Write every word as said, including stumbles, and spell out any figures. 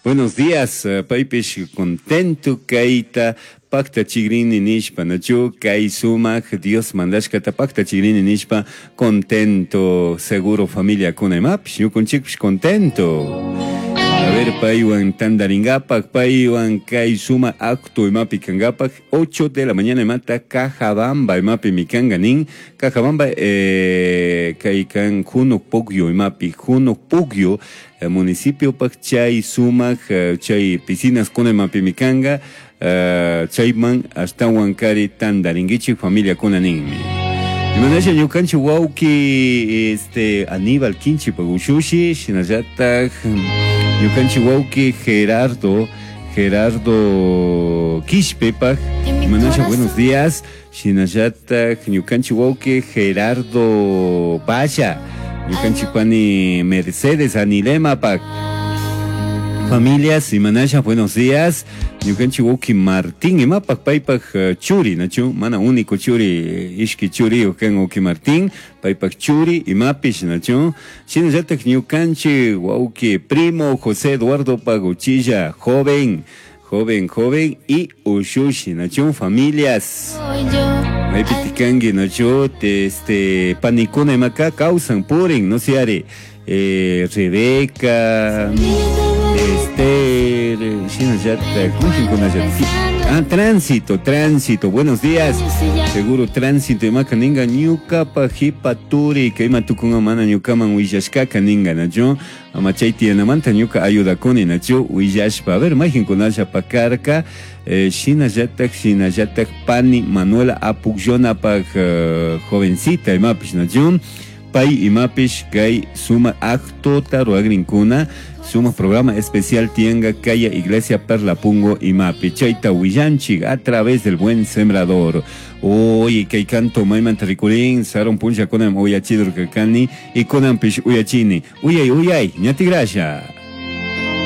Buenos días, eh, paypish contento kayta paktachigrini nishpa, nachu kay sumak Dios mandashkata paktachigrini nishpa contento, seguro familia kuna imapish, ñukunchikpish contento. A ver, paywan tandaringapak, paywan kay suma acto imapi kangapak, ocho de la mañana imata Cajabamba imapi mikanga nin, Cajabamba eh, kay kan Juno Pugyo imapi, Juno Pugyo eh, municipio pak chay sumak, eh, chay piscinas kuna imapi mikanga, eh, chayman ashtawan kari tandaringuichik familia kuna ninmi. Imanasha ñukanchik wawki este Aníbal Kinchipak ushushi shinallatak ñukanchik wawki Gerardo Gerardo Quishpepak Imanasha buenos días shinallatak ñukanchik wawki Gerardo Valla ñukanchik pani Mercedes Anilemapak Familias, Imanasha, buenos días. Ñukanchik wawki Martín, imapak paypak eh, churi, nachu, mana único churi, eh, ishki churi, ukan wawki Martín, paypak churi, imapish, nachu. Shinallatak ñukanchik wawki primo José Eduardo Paguchilla, joven, joven, joven, y ushushi, nachu, familias. Maypi tikanki, nachu, te, este, panikuna imaka kawsan, purin, no se are, eh, Rebeca, Esther, shinallatak, mayqinkunallata. Ah, tránsito, tránsito, buenos días. Seguro tránsito imaka ninga ñukapa hipa turi kay ima tukunga mana ñukaman willashkaka ninga nachu ama chay tiyanamanta ñuka ayudakuni nachu willashpa. A ver, mayqinkunalla pakarka eh, shinallatak shinallatak pani Manuela Apukllonapaq eh, jovencita imapish nachu pay imapish kay suma actota ruagrinkuna suma programa especial tianga kaya Iglesia Perlapungo imapi chayta willanchik a través del Buen Sembrador. Oye, kay canto maymanta rikurin sarun punlla kunan uyachidurkakani y kunanpish uyachini. Uyay, uyay, ñatigrasha.